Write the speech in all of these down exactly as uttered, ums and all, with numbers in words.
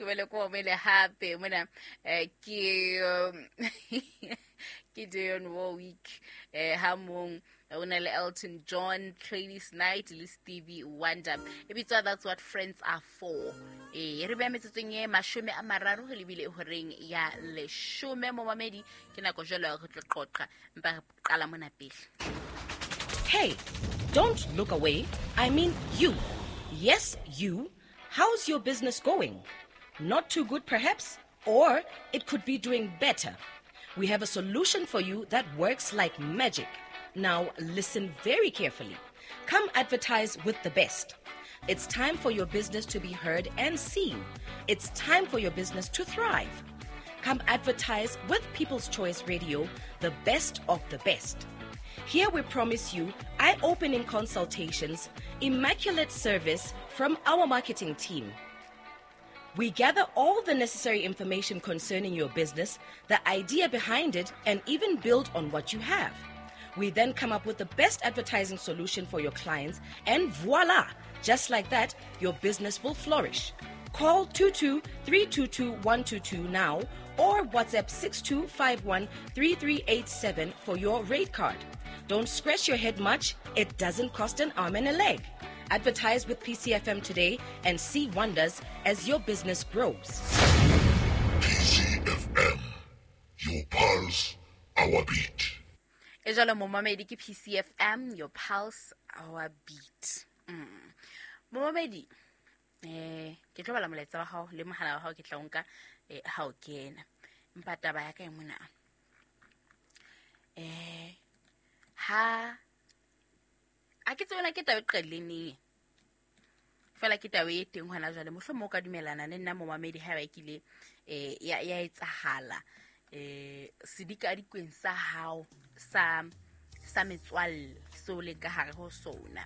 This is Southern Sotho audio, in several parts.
Ke bele ko mele hape mona eh ke ke Dionne Warwick eh ha mong o na le Elton John, Gladys Knight le Stevie Wonder. E bitswa That's What Friends Are For. Eh re beya metsotsong e mashome a mararo re lebile horeng ya leshome momamedi ke nako jwalo re tlo qoqa mpa re qala mona pele. Hey, don't look away. I mean you. Yes, you. How's your business going? Not too good perhaps, or it could be doing better. We have a solution for you that works like magic. Now listen very carefully. Come advertise with the best. It's time for your business to be heard and seen. It's time for your business to thrive. Come advertise with People's Choice Radio, the best of the best. Here we promise you eye-opening consultations, immaculate service from our marketing team. We gather all the necessary information concerning your business, the idea behind it, and even build on what you have. We then come up with the best advertising solution for your clients, and voila! Just like that, your business will flourish. Call two two three two two one two two now or WhatsApp six two five one three three eight seven for your rate card. Don't scratch your head much. It doesn't cost an arm and a leg. Advertise with P C F M today and see wonders as your business grows. P C F M, your pulse, our beat. E jwalo momamedi ke P C F M, your pulse, our beat. Mm. Momamedi, eh ke tlo bala molaetsa wa hao le mohala wa hao ke tla o nka eh ha o kena. Empa taba ya ka e mona. Eh ha a ke tsona ke taba e qadileng neng. Fela ke taba e teng hona jwale mohlomong o ka dumelana le nna momamedi ha ba kile eh ya ya etsahala eh sedikadikweng sa hao sa sa metswalle seo le ka hare ho sona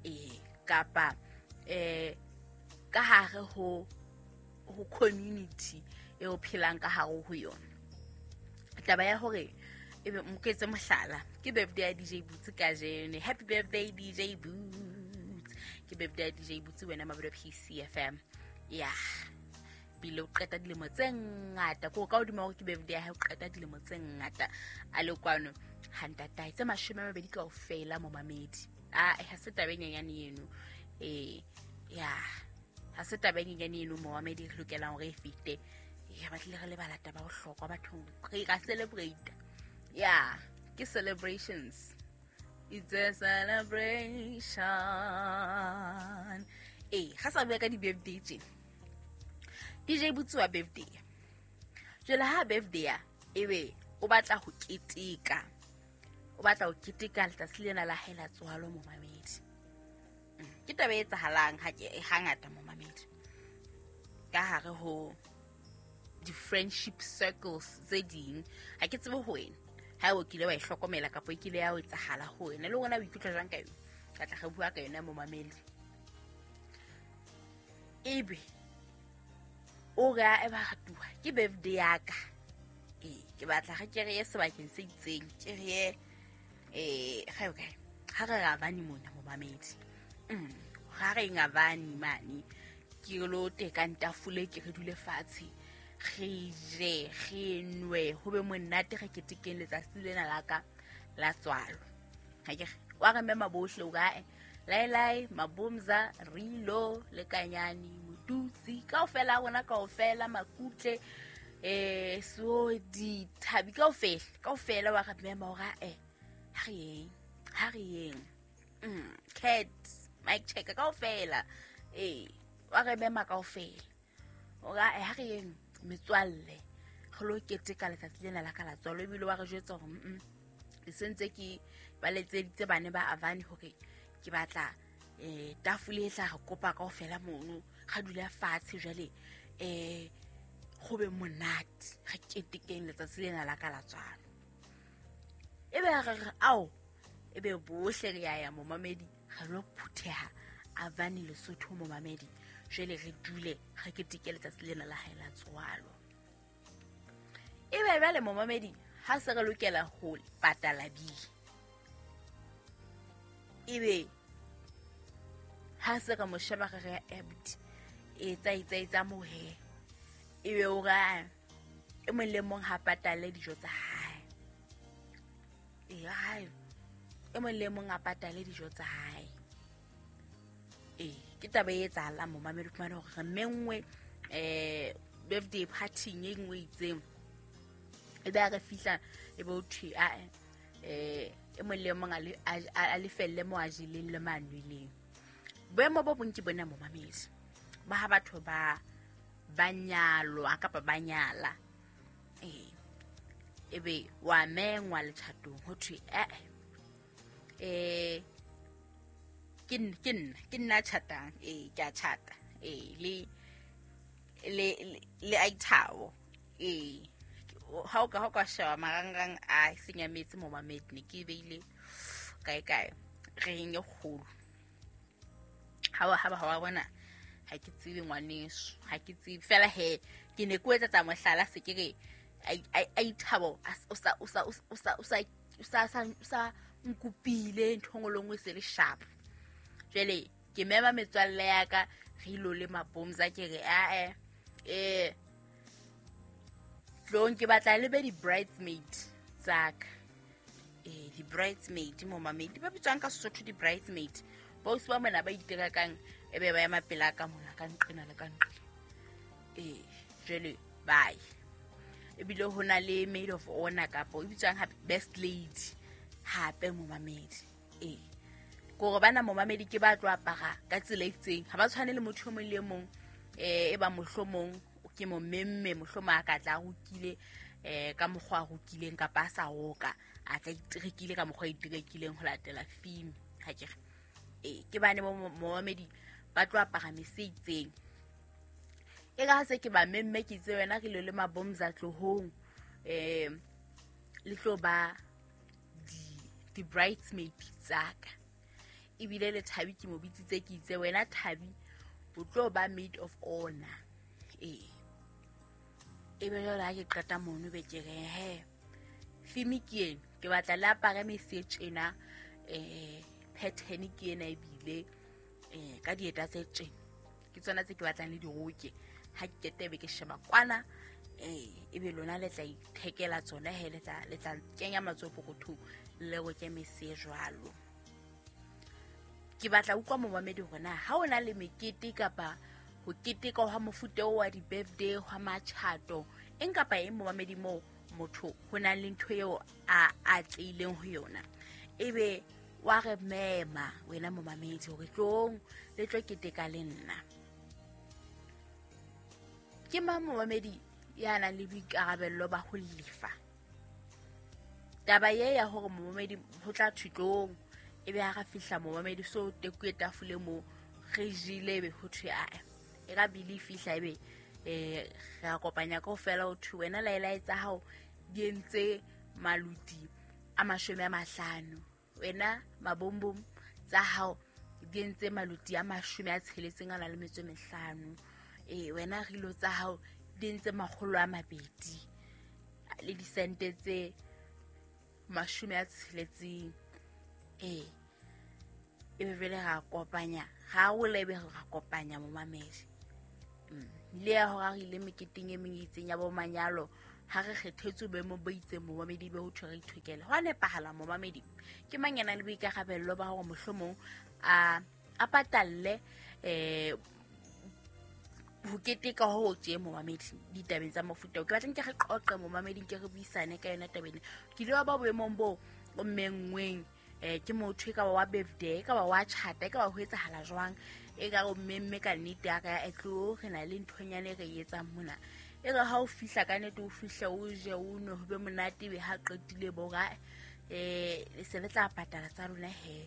eh kapa eh ka hare ho ho community e o phelang ka hare ho yona. Taba ya hore ebe moketse mohlala ke birthday ya D J Boots kajeno. Happy birthday D J Boots. Ke birthday ya D J Boots wena mabelo P C F M. Yeah. Pele o qeta dilemo tse ngata ko ka hodimo hore ke birthday ya hae o qeta dilemo tse ngata a le kwano ha ntatae tse mashome a mabedi kaofela momamedi. Ah ha se taba e nyenyane eno. Eh ya ha se taba e nyenyane eno momamedi re lokelang hore e fete. Ya batlile re lebala taba bohlokwa bathong re ka celebrate. Yeah, ke celebrations. It's a celebration. Eh, ga sa bua ka di birthday tje. D J Boots wa birthday. Jwale ha birthday ya ebe o batla ho keteka. O batla ho keteka letsatsi lena la hae la tswalo momamedi. Ke taba e etsahalang ha ke hangata momamedi. Ka hare ho di friendship circles tse ding ha ke tsebe ho wena. Ha o kile wa e hlokomela kapa e kile ya o etsahala ho wena le wena o ikutlwa jwang ka yona? Ka tla re bua ka yona momamedi. Ebe o re e ba ratuwa ke birthday ya ka. Eh ke batla re ke re ye sebakeng se itseng, ke re ye eh ga o kae? Ha re ra bani mona momamedi. Mm, ha re ngabani mane ke lo tekang tafole ke re dule fatshe. Re je re nwe ho be monate re ketekeng letsatsi lena la ka la tswalo. Ha ke wa re mema bohle o kae? Lailai, Mabumza, Rilo, Lekanyani, Motutsi, kaofela rona kaofela Makutle eh so di thabi kaofela kaofela wa re mema hore eh ha re yeng ha re yeng mm cat mic checker kaofela eh wa re mema kaofela o ka ha re yeng metswalle re lo keteka letsatsi lena la ka la tswalo ebile wa re jwetsa hore mm ke sentse ke ba letseditse bane ba Avani hore ke batla eh tafole e tla re kopa kaofela mono ga dula fatshe jwale eh go be monate re ketekeng letsatsi lena la ka la tswalo. Ebe re re ao ebe bohle re ya ya momamedi re lo phutheha Avani Lesotho momamedi jwale re dule re keteke letsatsi lena la hae la tswalo. Ebe jwale momamedi ha se re lokela ho patala bili. Ebe ha se re mo sheba re re abuti e tsa itsa itsa mo he. Ebe o ra e mong le mong ha patale dijo tsa hae. Ee, hae e mong le mong a patale dijo tsa hae. Ee, ke taba e etsahalang momamedi, o fumane hore re menngwe um birthday party-ing e nngwe e itseng. E be ha re fihla e be ho thwe ae eh e mong le mong a lefelle mo a jeleng le mo a nweleng. Boemo bo bong ke bona momamedi ba ha batho ba ba nyalwa kapa ba nyala. Ee, ebe wa mengwa letjhatong ho thwe eh eh ke ke nna ke nna tjhatang. Ee, ke a tjhata. Ee, le le le aithao. Ee, ha o ka ha o ka sheba marangrang a senyametse momamedi, ne ke beile kae kae reng e kgolo. Ha wa ha ba wa bona ha ke tsebe ngwaneso, ha ke tsebe fela he ke ne ke o etsetsa mohlala, se ke re aithabo o sa o sa o sa o sa o sa sa nkopile ntho engwe le nngwe se le sharp. Jwale ke mema metswalle ya ka re ilo le mabomza, ke re ae eh tlong ke batla le be di-bridesmaid tsaka. Eh di-bridesmaid momamedi ba bitswang ka Sesotho di-bridesmaid, bosi ba mona ba iterakang e be ba ema pela ka mona ka nqena le ka nqena. Eh jwale bye. Ebile ho na le maid of honor kapo e bitswang hape best lady hape momamedi. Eh kore bana momamedi ke ba tlo apara ka tsela e itseng, ha ba tshwane le motho o mong le mong. Eh e ba mohlomong ke mo memme mohlomong a ka tla rokile eh ka mokgwa a rokileng kapa a sa roka, a tla iterekile ka mokgwa a iterekileng ho latela theme. Ha ke re eh ke bane momamedi ba tlo apara mese itseng. E ka se ke ba memme ke itse wena re lo le mabomza tlohong eh le tlo ba di di bridesmaid tsaka. Ebile le Thabi ke mo bitsitse ke itse wena Thabi o tlo ba maid of honor. Ee, ebe jwale ha ke qeta mono be ke re he theme ke ena, ke batla le apare mese tjena, eh pattern ke ena ebile eh ka dieta tse tjena ke tsona tse ke batlang le diroke. Ha ke qete be ke sheba kwana eh ebe lona le tla ithekela tsona he, le tla le tla kenya matsoho pokothong le roke mese jwalo. Ke batla utlwa momamedi hore na ha o na le mekete kapa ho keteka hwa mofuta wa di-birthday hwa matjhato eng kapa eng momamedi moo motho ho na le ntho eo a a tleileng ho yona, ebe wa re mema wena momamedi hore tlong le tlo keteka le nna. Ke mang momamedi ya nang le boikarabello ba ho lefa taba ye ya hore momamedi ho tla thwe ebe ha re fihla momamedi so tekuwe tafole mo re jele ebe ho thwe ae e ka bile fihla ebe eh re a kopanya kaofela ho thwe wena laelae tsa hao di entse maluti a mashome a mahlano, wena mabombom tsa hao di entse maluti a mashome a tsheletseng a na le metso e mehlano, eh wena rilo tsa hao di entse makgolo a mabedi le disente tse mashome a tsheletseng. Eh ebe vele ra kopanya ga o lebe ra kopanya momamedi. Le ya hore re ile meketeng e meng e itseng ya bo manyalo ha re kgethetswe boemo bo itseng momamedi be ho thwe re ithokele. Ho a nepahala momamedi ke mang ya nang le boikarabello ba hore mohlomong a a patalle eh ho keteka ho tje momamedi ditabeng tsa mofuta o. Ke batla nke re qoqe momamedi, nke re buisane ka yona tabeng. Ke ile wa ba boemong bo o mengweng eh ke motho e ka ba wa birthday, e ka ba wa tjhata, e ka ba ho etsahala jwang, e ka o mmemme ka nnete ya ka ya tlo re na le nthonyane re etsang mona. E re ha o fihla ka nnete o fihle o je o nwe ho be monate, be ha qetile bo ra eh le se le tla patala tsa lona he.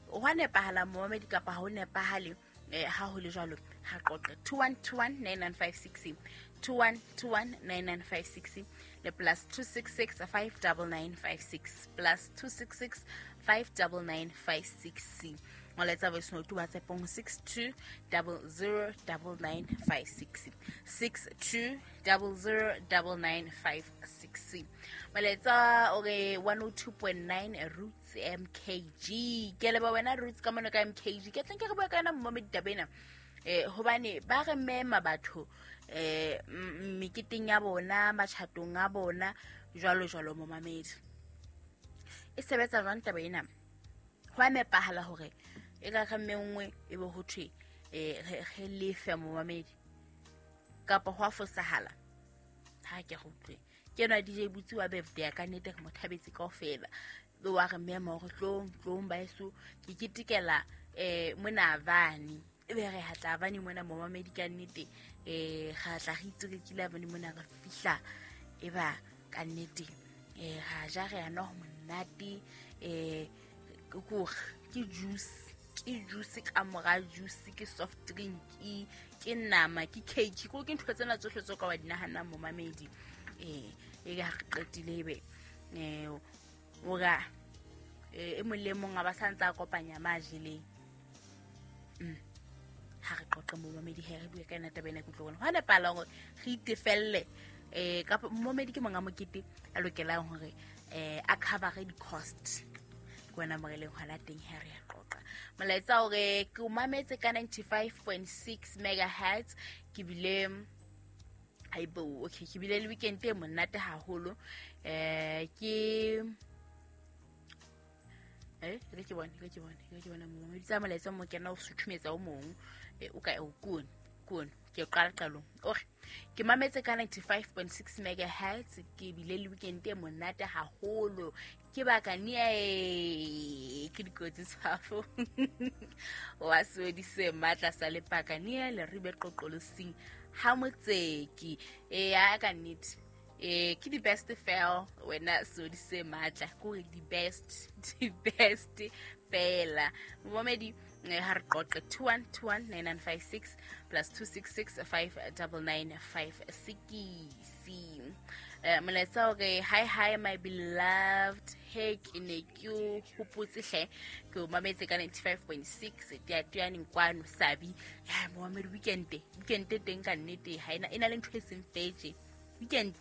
Ho a nepahala momamedi kapa ha ho nepahale? Eh ha ho le jwalo ha qoqe two one two one nine nine five six two one two one nine nine five six le plus two six six five nine nine five six plus two six six five nine nine five six. Molaetsa voice note WhatsApp on six two zero zero nine nine five six six two zero zero nine nine five six. Molaetsa o re one oh two point nine Roots M K G. Ke leba wena Roots ka mona ka M K G. Ke tla nke re bua ka yona momamedi taba ena. Eh hobane ba re mema batho eh meketeng ya bona, matjhatong a bona, jwalo jwalo momamedi. E sebetsa jwang taba ena? Ho a nepahala hore e ka re mengwe e be ho thwe eh re lefe momamedi kapa ho a fosahala. Ha ke go utlwe. Ke ena D J Butsi wa birthday ka nnete re mo thabetse kaofela. Wa re mema hore tlong tlong baeso ke ketekela eh mona Avani. E be re hatla Avani mona momamedi ka nnete eh ra tla re itsekile Avani mona re fihla e ba ka nnete eh ra ja re ana ho monate eh ke ke juice ke juice ka mora juice ke soft drink ke nama ke cake ko ke ntho tsena tsohle tso ka wa di nahanang momamedi eh e ga re qetile ebe eh ora e mong le mong a ba santsa kopanya majeleng. Mm ha re qoqe momamedi he re bue ka ena taba ena ke utlwe hona pala hore re itefelle eh ka momamedi ke monga mokete a lokelang hore eh a cover di cost ke wena mo re leng hona teng he re qoqa molaetsa hore ke o mametse ka ninety-five point six megahertz ke bile aibo okay ke bile le weekend e monate haholo eh ke eh re ke bone re ke bone re ke bona momamedi tsa molaetsa mo kena o suthumetsa o mong o ka o kone kone ke qala qalong ore ke mametse ka ninety-five point six megahertz ke bile le weekend e monate haholo ke baka ni ke dikotsi tshwafo wa swedise matla sa lepaka ni le ribe qoqolosing ha motseki e ya ka nnete eh ke di best fail wena swedise matla ke di best di best fela momedi ha re qoqe two one two one nine nine five six plus two six six five nine nine five six. Eh molaetsa hore hi hi my beloved hey ke ne ke o hopotse hle ke o mametse ka ninety-five point six teatuyaneng kwano sabi ya momamedi weekend weekend teng ka nnete ha ena ena le ntho e seng fetse weekend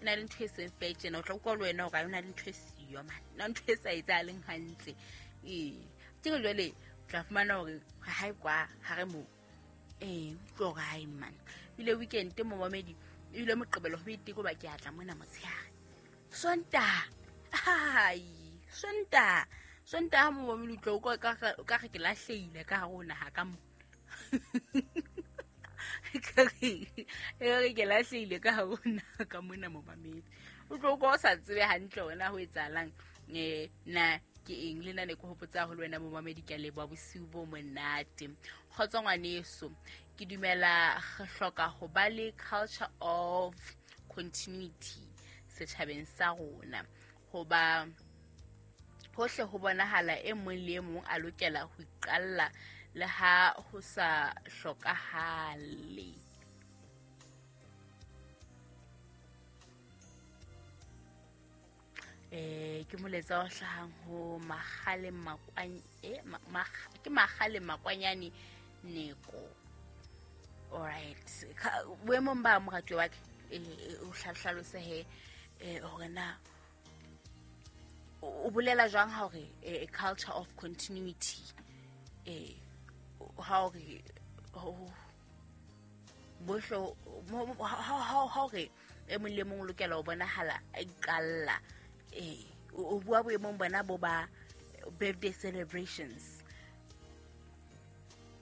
ena le ntho e seng fetse na o tla utlwa le wena hore ha ena le ntho e siyo man na ntho e sa etsahaleng hantle eh ke jwale tla fumana hore ha e kwa ha re mo eh utlwa hore ha e man ile weekend momamedi ile moqebelo ho iteko ba ke atla mona motshehare sonta ai sonta sonta momamedi utlwa o ka ka re ke lahleile ka hare ona ha ka mo ka re ke lahleile ka hare ona ka mona momamedi utlwa o sa tsebe hantle ona ho etsahalang eh na ke eng le nna ne ke hopotsa ho le wena momamedi ke a leboha bosiu bo monate kgotso ngwaneso ke dumela re hloka ho ba le culture of continuity setjhabeng sa rona hoba hohle ho bonahala e mong le e mong a lokela ho iqalla le ha ho sa hlokahale. Eh ke moletsa o hlahang ho Magale Makwany eh ke Magale Makwanyane Neko. All right boemong ba moratuwa wa ke o hlalose he hore na o bolela jwang ha hore a culture of continuity eh ha hore bohlo ha hore e mong le mong lokela ho bonahala a iqalla eh o bua boemong bona bo ba birthday celebrations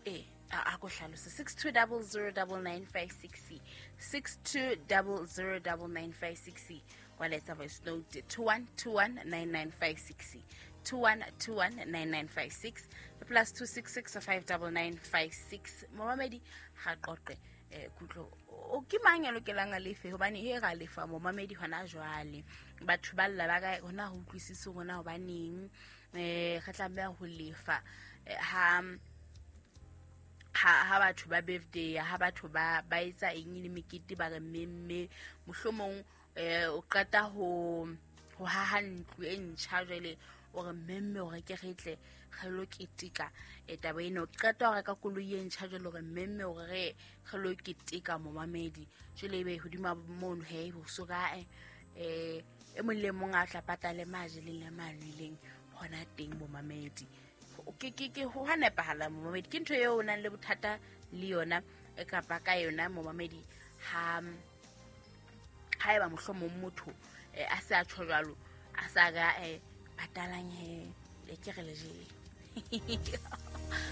eh a go hlalose six two zero zero nine nine five six six two zero zero nine nine five six wa letsa voice note two one two one nine nine five six two one two one nine nine five six plus two six six five nine nine five six momamedi ha qoqe eh kutlo o ke mang ya lokelang a lefe hobane he ra lefa momamedi hona jwale batho ba lla ba ka hona ho utlwisise hona hobaneng eh re tlameha ho lefa ha ha ha batho ba birthday ha batho ba ba etsa eng le mekete ba re memme mohlomong eh o qeta ho ho haha ntlo e ntjha jwale o re memme o re ke re tle re lo keteka e taba ena o qeta ho reka koloi e ntjha jwale o re memme o re re lo keteka momamedi jwale ebe hodima mono he ho so ka eh e mong le mong a tla patale majeleng le manweleng hona teng momamedi ke ke ke ho nepahala momamedi ke ntho eo o nang le bothata le yona kapa ka yona momamedi ha haeba mohlomong motho a se a tjho jwalo a sa ga eh patalang he le ke re le jele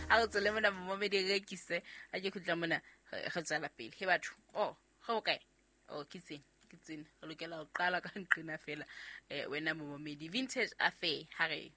a re tswele mona momamedi re rekise a ke khutla mona re tswela pele he batho oh go kae oh ke tsena ke tsena re lokela ho qala ka nqena fela eh wena momamedi vintage affair ha re.